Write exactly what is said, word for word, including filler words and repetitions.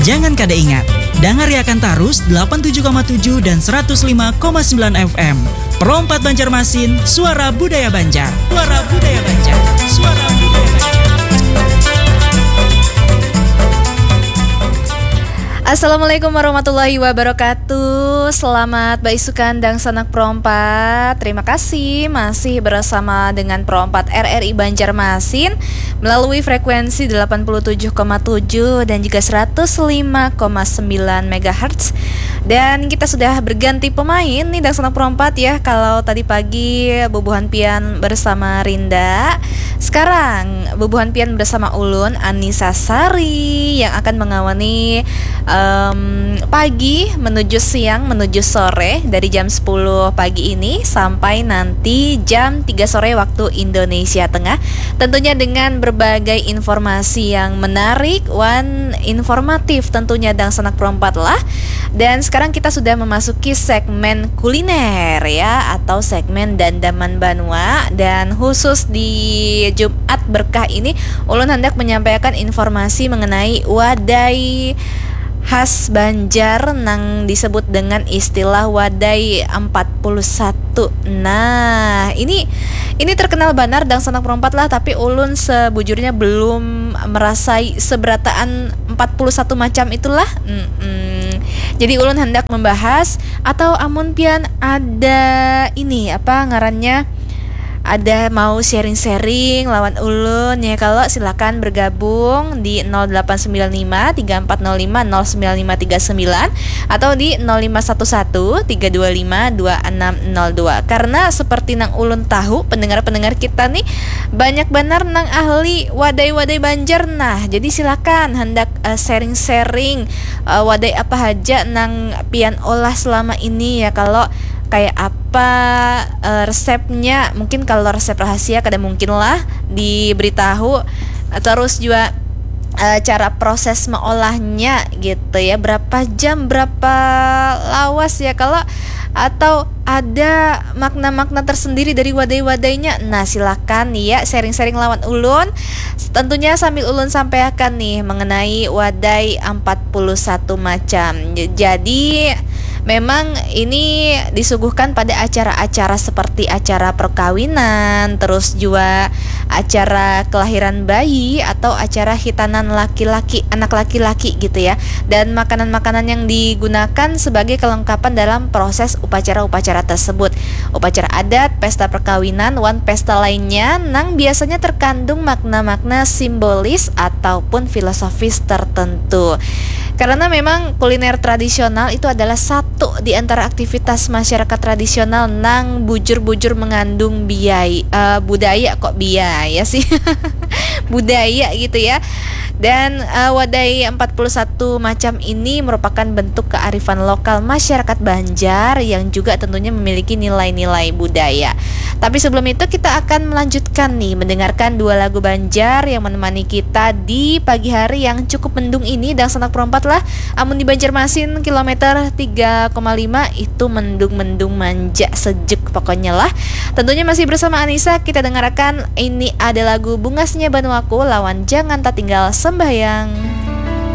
Jangan kada ingat, dangariakan tarus delapan tujuh koma tujuh dan seratus lima koma sembilan F M. Pro empat Banjarmasin, suara budaya Banjar. Suara budaya Banjar. Suara budaya Banjar. Assalamualaikum warahmatullahi wabarakatuh. Selamat baisukan dangsanak Pro empat. Terima kasih masih bersama dengan Pro empat R R I Banjarmasin melalui frekuensi delapan puluh tujuh koma tujuh dan juga seratus lima koma sembilan megahertz. Dan kita sudah berganti pemain nih, dangsanak Pro empat ya. Kalau tadi pagi bubuhan pian bersama Rinda, sekarang bubuhan pian bersama ulun, Anissa Sari, yang akan mengawani, em, pagi menuju siang menuju sore dari jam sepuluh pagi ini sampai nanti jam tiga sore waktu Indonesia Tengah. Tentunya dengan berbagai informasi yang menarik wan informatif tentunya, dangsanak Pro empat lah. Dan sekarang kita sudah memasuki segmen kuliner ya, atau segmen dandaman banua. Dan khusus di Jumat berkah ini, ulun hendak menyampaikan informasi mengenai wadai khas Banjar nang disebut dengan istilah wadai empat puluh satu. Nah, ini ini terkenal banar, dangsanak Pro empat lah, tapi ulun sebujurnya belum merasai seberataan empat puluh satu macam itulah. Mm-mm. Jadi ulun hendak membahas, atau amun pian ada ini, apa ngarannya, ada mau sharing-sharing lawan ulun ya, kalau silakan bergabung di nol delapan sembilan lima tiga empat nol lima nol sembilan lima tiga sembilan atau di nol lima satu satu tiga dua lima dua enam nol dua. Karena seperti nang ulun tahu, pendengar-pendengar kita nih banyak banar nang ahli wadai-wadai Banjar. Nah, jadi silakan hendak, eh, sharing-sharing, eh, wadai apa haja nang pian olah selama ini ya, kalau kayak apa, eh, resepnya. Mungkin kalau resep rahasia kada mungkin lah diberitahu. Terus juga, eh, cara proses meolahnya gitu ya, berapa jam, berapa lawas ya, kalau atau ada makna-makna tersendiri dari wadai-wadainya. Nah, silakan ya sharing-sharing lawan ulun. Tentunya sambil ulun sampaikan nih mengenai wadai empat puluh satu macam. J-, jadi memang ini disuguhkan pada acara-acara seperti acara perkawinan, terus juga acara kelahiran bayi atau acara hitanan laki-laki, anak laki-laki gitu ya. Dan makanan-makanan yang digunakan sebagai kelengkapan dalam proses upacara-upacara tersebut. Upacara adat, pesta perkawinan, wan pesta lainnya nang biasanya terkandung makna-makna simbolis ataupun filosofis tertentu. Karena memang kuliner tradisional itu adalah satu di antara aktivitas masyarakat tradisional nang bujur-bujur mengandung biaya, eh, budaya, kok biaya sih. Budaya gitu ya. Dan, eh, wadai empat puluh satu macam ini merupakan bentuk kearifan lokal masyarakat Banjar yang juga tentunya memiliki nilai-nilai budaya. Tapi sebelum itu, kita akan melanjutkan nih mendengarkan dua lagu Banjar yang menemani kita di pagi hari yang cukup mendung ini, dangsanak Pro empat lah. Amun di Banjarmasin kilometer tiga koma lima itu mendung-mendung manja sejuk pokoknya lah. Tentunya masih bersama Anissa, kita dengarkan ini ada lagu Bungasnya Banuaku lawan Jangan Tatinggal Sembahyang.